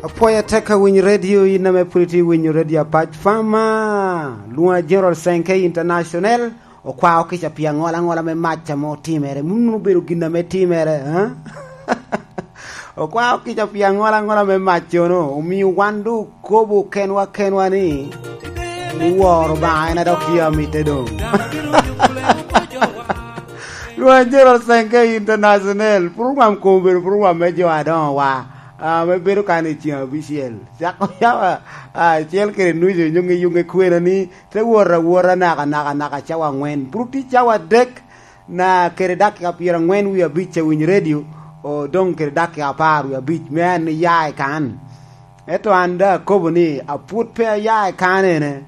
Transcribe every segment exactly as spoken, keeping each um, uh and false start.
Apwoyo atek awinyo redio, in ame pwod itye winyo redio Apac Fama, lwoŋa General Senke International, okwao kica pi aŋola aŋola me mac ame otimere. Mom nwoŋo obedo gin ame timere, eh? Okwao kica pi aŋola aŋola me mac-cono, omio wan doŋ okobo kenwa kenwa ni, ni woro Obaŋa en a dok tye amitte doŋ. Lwoŋa General Senke International, program kono obedo program me jo adoŋo wa, ah, me bedo kan i ceng abicel. Cako cawa, ah, acel kede nucu, nyuŋe yuŋe kwena ni, te wot awota naka, naka, naka cawa aŋwen. Bro tye cawa adek, na kede dakika pyeraŋwen wie abic a winyo redio, o, doŋ kede dakika apar wie abic, me an iya i kan. Ento an daŋ akobo ni, apwod pe aya i kanene.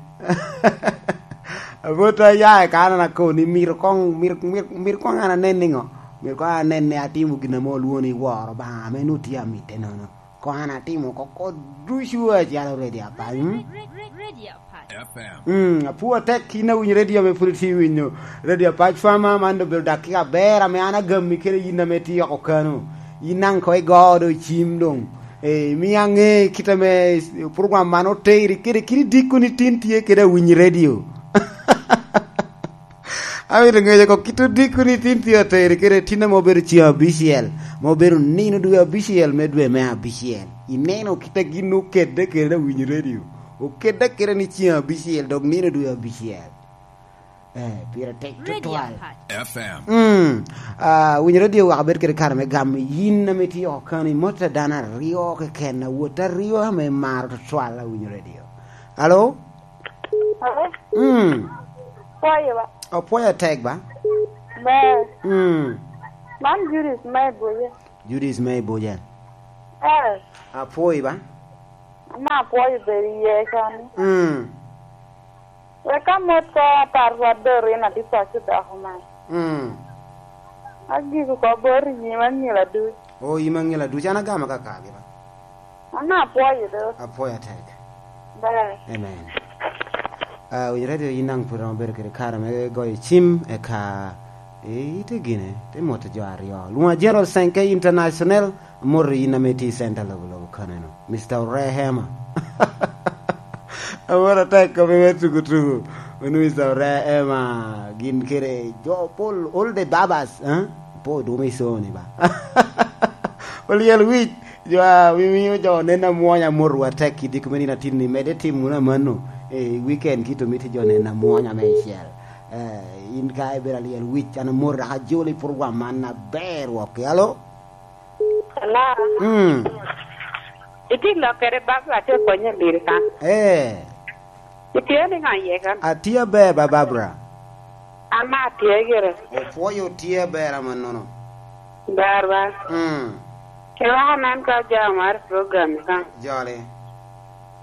Apwod pe aya i kanene, akobo ni, myero koŋ, myero, myero, myero koŋ an anen niŋo? Myero koŋ an anen ni atimo gin ame olwoŋo ni woro Obaŋa, ame nwoŋo tye amitte nono. Koŋ an atimo oko, oko ducu acalo redio Apac, mm? Mm, apwoyo atek in awinyo redio ame pwod itye winyo. Redio Apac Fama, man doŋ obedo dakika aber ame an agami kede yin ame tye oko kano. Yin daŋ koŋ igo doŋ cim doŋ. Eh, imio aŋe kit ame program man oteri kede kit idiko ni tin tye kede awinyo redio. Amito ŋeyo oko kit odiko ni tin tye ateri kede tin ame obedo ceng abicel, ma obedo nino dwe abicel me dwe me abicel. Ineno kit a gin okedde kede awinyo redio. Okedde kede ni ceng abicel, dok nino dwe abicel. Eh, pire tek tutwal. F M. Mm. Ah, winyo redio wek abed kede kare me gamo yin ame tye oko kano, imot a dano aryo keken, awot aryo ame imaro tutwal awinyo redio. Alo? Alo? Mm. Pwoyo ba? Opwoyo tek ba? Ber. Mm. Man Judith me Ibuja. Judith me Ibuja. Eh. Apwoyi ba? Ama apwoyo bedo iye kani. Mm. Wek amot ko atar rwat doro in adi paco dako man. Mm. Agiko ko bot i nyim anyila duc. O, yim aŋila duc, an agamo kakagi ba. An apwoyo do. Apwoyo atek. Ber. Amen. Ah, winyo redio yin daŋ pwod romo bedo kede kare me goyo cim, eka ite gine, te moto jo aryo. Lwoŋa General Senke International, amoto yin ame tye i center lobo lobo kaneno. Mister Orehema. Amoto atek kome me tuku tuku. Wano Mister Orehema, gin kede jo pol, all the babas, eh? Po dwoma i soni ba. Olyel wic, jo a mimio jo onen amwonya, amotwu atek i diko me nino atin ni, medde tim wunu amanno. Eh, i weekend kit omito jo onen amwonya meicel. Eh, in ka ibedo alyel wic, an amoti dok ajolo i program man aber wok. Alo? Hello? Mm. Itye lok kede Barbara, atye konyo i diri ka. Eh. Itye niŋo iye kan? Atye aber ba, Barbara. An atye gire. Opwoyo tye aber amannono. Ber ba. Mm. Eweko anen ka ojao mar program ka. Joli.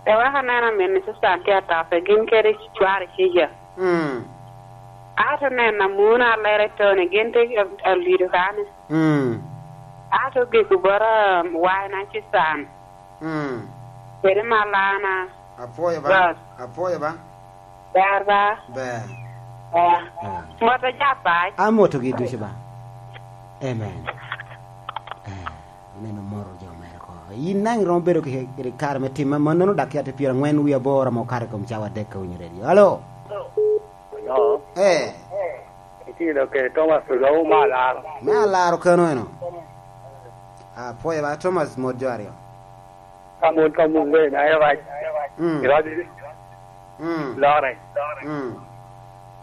Eweko anen amin ni Susan tye atop, gin kede cware Cija. Mm. Ato neno amuna Alere Tony, gin tye alido kane. Mm. Ato giko bota, um, wine Susan. Mm. Kede Malana. Apwoyo ba. Ber. Apwoyo ba. Ber ba. Ber. Ber. Mm. Moto ja pac. Amotogi ducu ba. Amen. Eh, ineno moto jo mere ko. In daŋ iromo bedo ki, ki kare me tim mannono, dakika tye pyeraŋwen wie aboro ame okato i kom cawa adek ka winyo redio. Alo? Alo? Eh. Itye lok kede Thomas Olou me Alaro. Me Alaro kano eno? Apwoyo ba, Thomas, mot jo aryo. Ka mon ka mon wen, aye rac. Mm. Irac. Mm. Lore. Mm.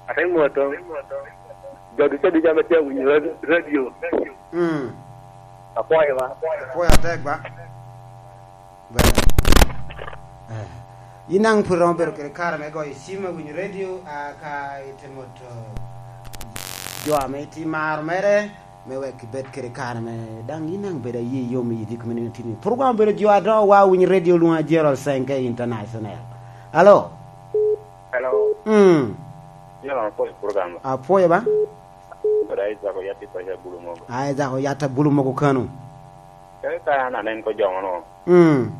Ate moto. Jo ducu aducu ame tye awinyo radio, radio. Mm. Apwoyo ba. Apwoyo atek ba. Ber. Eh. In daŋ pwod iromo bedo kede kare me goyo cim me winyo redio, ah, ka ite moto jo ame itye maro mere, me wek ibed kede kare me, daŋ in daŋ bedo aye yom i diko me nino tini. Program obedo jo adoŋo wa winyo redio lwoŋa Gerald Senke International. Alo? Hello. Mm. Jalo apwoyo program. Apwoyo ba? Kod Isaac Oyat i paco Abulu Mogo. Isaac Oyat Abulu Mogo kano. Kadi ka an anen ko joŋo no. Mm.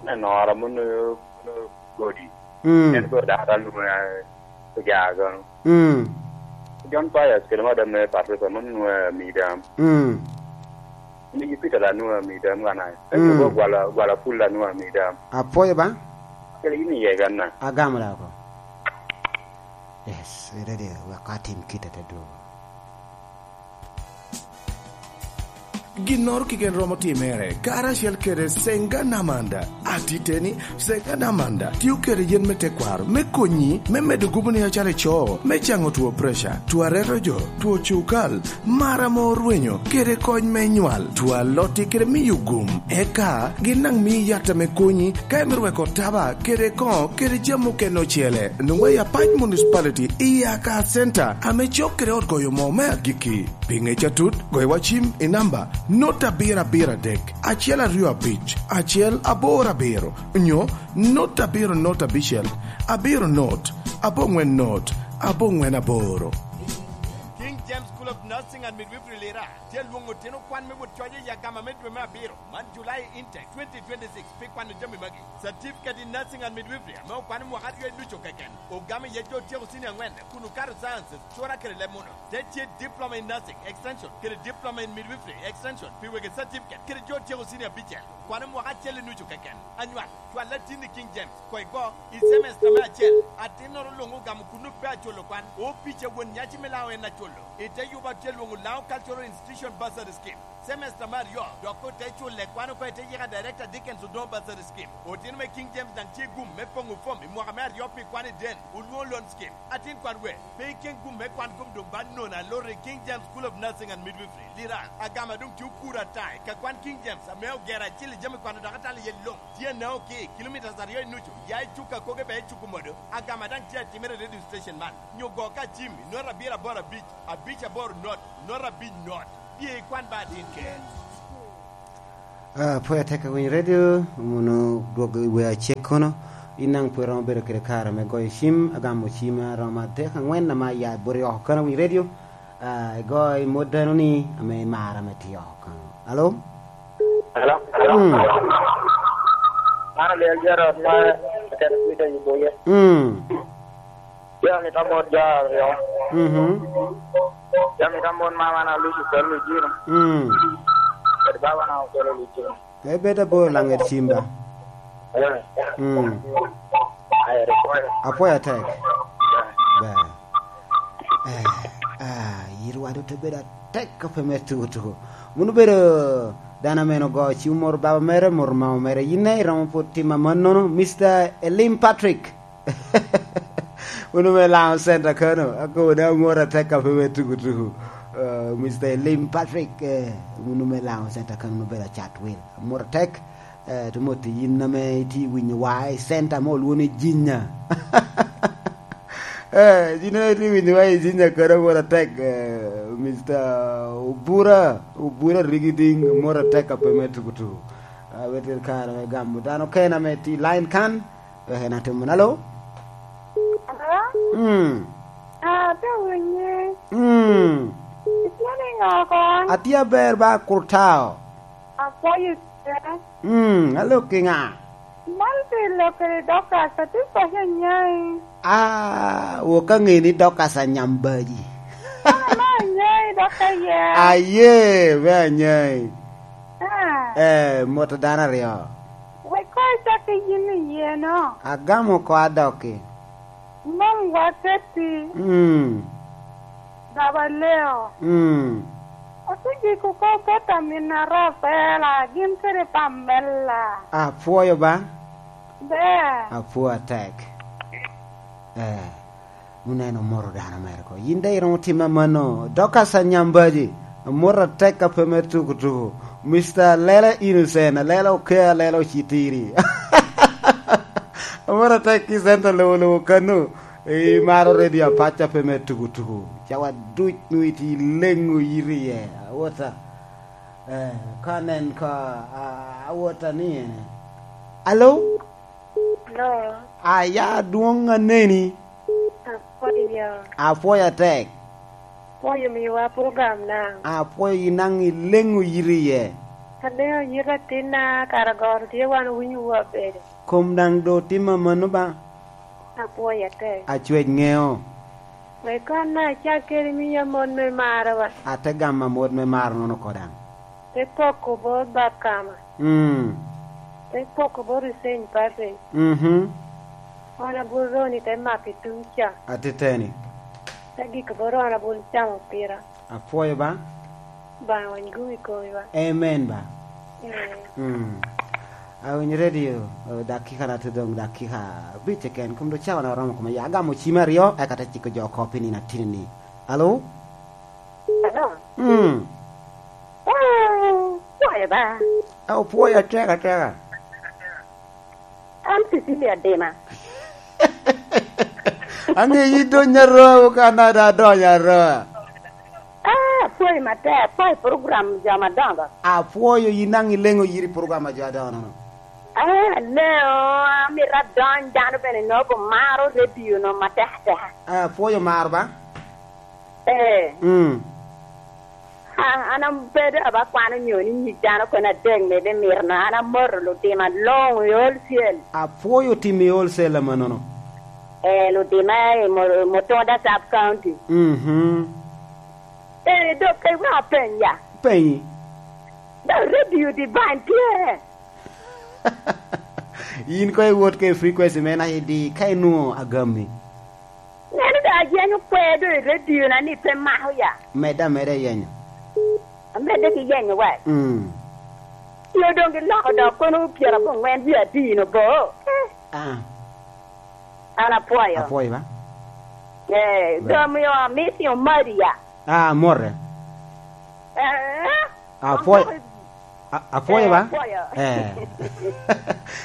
Aneno ora mono, mono godi. Mm. En godi data luna ojaga. Mm. John Pius kede madam me Patricia mono nwa midam. Mm. Ni Jupiter la nua mi dam gana. Ento Mm. go gwala, gwala pul la nua mi dam. Apwoyo ba? Kele yin iye gana. Agamo la oko. Yes, ready, wek atim kite te dwogo. Ginnoro keken romo timere, karacel kede Senga Namanda. Atiteni, Senga Namanda tio kede yen me tekwaro me konyi me medo gubo ni acalo ico, me caŋo two preca, two areto jo, two cukal, mar ame orwenyo, kede kony me nywal, two alotti kede miyo gum. Eka gin daŋ mii yat ame konyi ka imito weko taba kede koŋo kede jami okene ocele. Nwoŋo i Apac Municipality i Aka Center ame cok kede ot goyo moo me agikki. Pi ŋec atut, goyo wa cim i namba not abiro abiro adek, acel aryo abic, acel aboro abiro, nyo not abiro not abicel, abiro not, aboŋwen not, aboŋwen aboro. King James School of Nursing and Midwifery Lira tye alwoŋo otino kwan me wot coc i agama me dwe me abiro, man July intake twenty twenty-six, pi kwano jami magi. Certificate in Nursing and Midwifery ame okwano mwaka aryo i ducu keken, ogamo iye jo otyeko senior angwen kun okato sciences, cura kede leb muno. Te tye Diploma in Nursing Extension kede Diploma in Midwifery Extension pi wegi certificate kede jo otyeko senior abicel, kwano mwaka acel i nucu keken. Anywal, cwal latinni King James, koi go, i semester me acel, atinnoro luŋ ogamo kun ope aculo kwan, opic a won nyaci me Laŋo en aculo. I te yuba tye lwoŋo Laŋo Cultural Institution Bursary Scheme. Semester me aryo, dok ote culle kwan oko i te yika Director Dickens Odongo Bursary Scheme. Otino me King James daŋ tye gum me poŋo fom i mwaka me aryo pi kwan i den, olwoŋo loan scheme. Atin kwan we, pe iken gum me kwan kom doŋ ba nono alor i King James School of Nursing and Midwifery, Lira, agama doŋ tye okuro ata i ka kwan King James ame ogero acil i jami kwano dok atalo iye luŋ. Tye anao ki kilometres aryo i nucu, ya i Cuka Koge bea i Cuku Modo, agama daŋ tye atimere i radio station man. Nyo go ka cim i not abiro aboro abic, abic aboro not, not abic not. Bye ikwan ba atin ker. Ah, pwod atek awinyo redio, mono dwog i wer acek kono. In daŋ pwod iromo bedo kede kare me goyo cim, agamo cim aromo adek angwen ame aya i boti oko kono awinyo redio. Ah, igo i mot dano ni ame imaro ame tye oko kono. Alo? Hello? Mm. Man Aliel Gerald ma Aket Twitter i Boye. Mm. Jami ta mot jo aryo. Mhm. Jami ta mot mama na Lucy Kwel Lujino. Mm. Kod baba na Okwelo Lujino. Ebed abor laŋet cim ba? Eh. Mm. Ayer ikwayo. Apwoyo atek. Eh. Ber. Eh, ah, yirwa doŋ te bedo atek ka pe mere tuko tuko. Wun obedo dano ame ogo cim omoro baba mere, omoro mama mere. Yin ne iromo pwod timo amannono, Mister Elim Patrick. Unu me Laŋo Center kono, akobo ni amor atek ka pe me tuku tuku. Eh, Mister Elim Patrick, eh, unu me Laŋo Center kono, unu bedo acat wil. Amor atek, eh, to mot i yin ame itye winyo wa i center mo olwo ni Jinya. Eh, yin ame itye winyo wa i Jinya kono, amor atek, eh, Mister Obura, Obura Rigiding, amor atek ka pe me tuku tuku. Ah, wete kare me gamo dano kena me ti line kan. Wek en atim wunu. Alo? Alo? Mm. Ah, atye winyi. Mm. Itye niŋo kon? Atye aber ba kurtao. Apwoyo tye. Mm, alo ki ŋa? Man pi lok kede Dorcas, atye paco anyai. Ah, wok aŋe ni Dorcas Anyambaji. An ame anyai dok aye. Aye, me anyai. Ah. Eh, moto dano aryo. Wek koŋ icak ki yin iye no. Agamo oko adokki. Mom waketi. Mm. Baba Leo. Mm. Otegik oko keta min Arafela, gin kede Pamela. Apwoyo ba? Ber. Apwoyo atek. Eh. Wun en omoto dano mere ko. Yin daŋ iromo timme amanno. Dorcas Anyambaji, amoto atek ka pe me tuku tuku. Mister Alela Innocent, Alela Okea, Alela Ocitiri. Amoto atek ki center lowo lowo kano. Imaro redio Apac a pe me tuku tuku. Cawa duc nwoŋo itye ileŋo yito iye. Awota. Eh, ka nen ka, a-, awota ni ene. Alo? Hello. Aya adwoŋ aneni. Apwoyo. Apwoyo atek. Apwoyo miwa program na. Apwoyo yin daŋ ileŋo yito iye. Aleŋo yito atinna, kara goro tye wan owinyo wu abedo. Kom daŋ do tim amanno ba? Apwoyo atek. Acwec ŋeo. Wek konna acak kede miya mot me maro ba? Ate gamo amot me maro nono ko daŋ. Te poko bot Bakama. Mm. Te poko bot Hussein Patrick. Mhm. Honorable Ronnie te mako i tung ca. Atiteni. Te giko bot Honorable Cam Opira. Apwoyo ba. Ba wany gumi komi ba. Amen ba. Amen. Mm. Awinyo radio, eh, dakika na te dong dakika abic keken, kom do cawa na oromo koma ya. Agamo cim aryo, eka te ciko jo oko pi nino atini ni. Alo? Alo? Mm. Ah, pwoyo ba. Ah, opwoyo atek ateka. An Cecilia Dima. Ange yi donya ro, ka na da donya ro. Ah, apwoyo matek, apwoyo program jo madongo. Apwoyo yi nang ilengo yiri program a jo adongo nono. Ah, aleo, amito adony, dano bene nobo maro radio no matek ateka. Ah, apwoyo maro ba? Eh. Mm. A-, an abedo aba kwano nyo ni nyig dano kono adek me be mito no. An amoto lutima luŋ i wholesale. Apwoyo tim i wholesale amannono. Eh, lutima i Mo-, Mutunda Sub County. Mhm. Eh, dok ka iweko apenya. Penyi. Dok radio divine tye. Yin ko iwot ke frequency me na idi ka inwo agami. Neno do ayenyo kwer do i radio na ni pe mako ya. Medde ameda yenyo. Amedde ki yenyo wa. Mm. Yo dong giloko dok kono pyera abongwen wie adino bo. Eh. Ah. An apwoyo. Apwoyo ba? Eh, right. Domiyo amisi omadi ya. Ah, more. Eh. Apwoyo. Apwoyo. A-, apwoyo ba? Eh, apwoyo. Eh.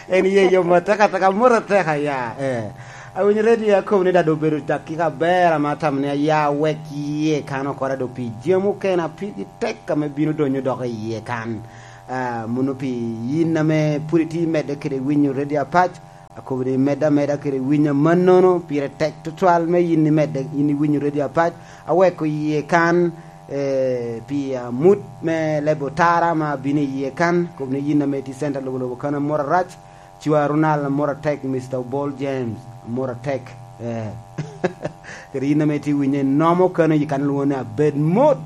En ye yo mo teka teka, moro teka ya. Eh. Awinyo radio akobo ni dado obedo dakika aber ama tam ni aya wek iye kan okora do pi jami okene a pigi tek ame bino donyo dok iye kan. Ah, mono pi yin ame pwod itye medde kede winyo radio apac, akobo ni medde ameda kede winyo amannono, pire tek tutwal me yin imedde, yin iwinyo radio apac, aweko iye kan, eh, pi amut me lebo tara ma bino iye kan, kobo ni yin ame tye center lobo lobo kan amoro arac, cwa Ronald amoro atek, Mister Obol James amoro atek, eh. Kede yin ame tye winyo inomo kano i kan lwongo ni abed mot,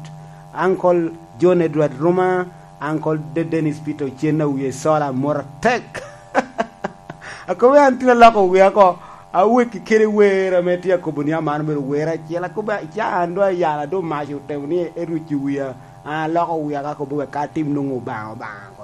Uncle John Edward Ruma, Uncle De-, Dennis Peter Ocen a wie sola amoro atek. Akobo an tin aloko wia oko, aweki kede wer ame tye akobo ni aman obedo wer acel, akobo ca an do ayala do mac otemo ni eruco wia, an aloko wia ka akobo wek ka atim nwoŋo Obaŋa, Obaŋa.